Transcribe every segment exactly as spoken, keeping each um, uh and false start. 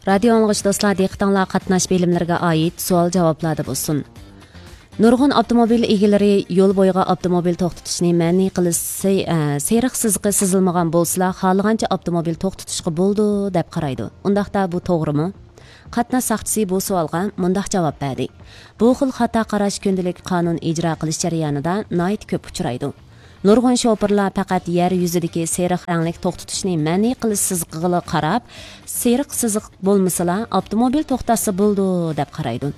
رادىيو ئاڭلىغۇچى دوستلار، دىققىتىڭلار قاتناش بىلىملىرىگە ئائىت سوئال-جاۋابلاردا بولسۇن. نۇرغۇن ئاپتوموبىل ئىگىلىرى يول بويىغا ئاپتوموبىل توختىتىشنى مەنئى قىلىش سى-، ئە، سېرىق سىزىقى سىزىلمىغان بولسىلا، خالىغانچە ئاپتوموبىل توختىتىشقا بولىدۇ، دەپ قارايدۇ. ئۇنداقتا بۇ توغرىمۇ؟ قاتناش ساقچىسى بۇ سوئالغا مۇنداق جاۋاب بەردى: بۇ خىل خاتا قاراش كۈندىلىك قانۇن ئىجرا قىلىش جەريانىدا ناھايىتى كۆپ ئۇچرايدۇ. نۇرغۇن شوپۇرلار پەقەت يەر يۈزىدىكى سېرىق رەڭلىك توختىتىشنى مەنئى قىلىش سىزىقىغىلا قاراپ، سېرىق سىزىق بولمىسىلا، ئاپتوموبىل توختاتسا بولىدۇ، دەپ قارايدۇ.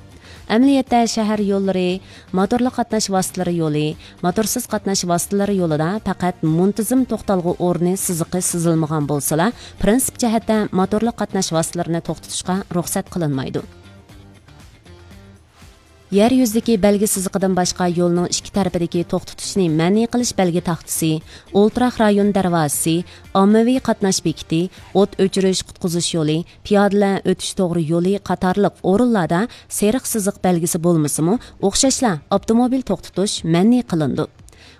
ئەمەلىيەتتە، شەھەر يوللىرى، موتورلۇق قاتناش ۋاسىتىلىرى يولى، موتورسىز قاتناش ۋاسىتىلىرى يولىدا پەقەت مۇنتىزىم توختالغۇ ئورنى سىزىقى سىزىلمىغان بولسىلا، پىرىنسىپ جەھەتتە موتورلۇق قاتناش ۋاسىتىلىرىنى توختىتىشقا رۇخسەت قىلىنمايدۇ. يەر يۈزىدىكى بەلگە سىزىقىدىن باشقا يولنىڭ ئىككى تەرىپىدىكى توختىتىشنى مەنئى قىلىش بەلگە تاختىسى، ئولتۇراق رايون دەرۋازىسى، ئاممىۋى قاتناش بېكىتى، ئوت ئۆچۈرۈش، قۇتقۇزۇش يولى، پىيادىلەر ئۆتۈش توغرا يولى قاتارلىق ئورۇنلاردا سېرىق سىزىق بەلگىسى بولمىسىمۇ، ئوخشاشلا ئاپتوموبىل توختىتىش مەنئى قىلىنىدۇ.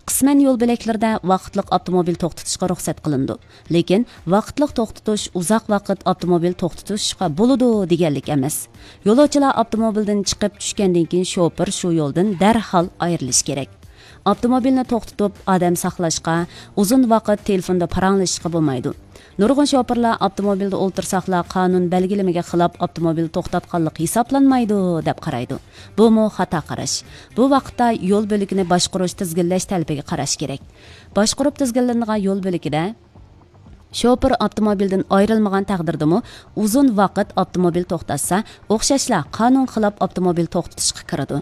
قىسمەن يول بۆلەكلىرىدە ۋاقىتلىق ئاپتوموبىل توختىتىشقا رۇخسەت قىلىنىدۇ. لېكىن ۋاقىتلىق توختىتىش ئۇزاق ۋاقىت ئاپتوموبىل توختىتىشقا بولىدۇ دېگەنلىك ئەمەس. يولۇچىلار ئاپتوموبىلدىن چىقىپ چۈشكەندىن كېيىن شوپۇر شۇ يولدىن دەرھال ئايرىلىشى كېرەك. ئاپتوموبىلنى توختىتىپ ئادەم ساقلاشقا، ئۇزۇن ۋاقىت تېلېفوندا پاراڭلىشىشقا بولمايدۇ. نۇرغۇن شوپۇرلار ئاپتوموبىلدا ئولتۇرساقلا قانۇن بەلگىلىمىگە خىلاپ ئاپتوموبىل توختاتقانلىق ھېسابلانمايدۇ، دەپ قارايدۇ. بۇمۇ خاتا قاراش. بۇ ۋاقىتتا يول بۆلىكىنى باشقۇرۇش تىزگىنلەش تەلىپىگە قاراش كېرەك. باشقۇرۇپ تىزگىنلىنىدىغان يول بۆلىكىدە شوپۇر ئاپتوموبىلدىن ئايرىلمىغان تەقدىردىمۇ ئۇزۇن ۋاقىت ئاپتوموبىل توختاتسا، ئوخشاشلا قانۇن خىلاپ ئاپتوموبىل توختىتىشقا كىرىدۇ.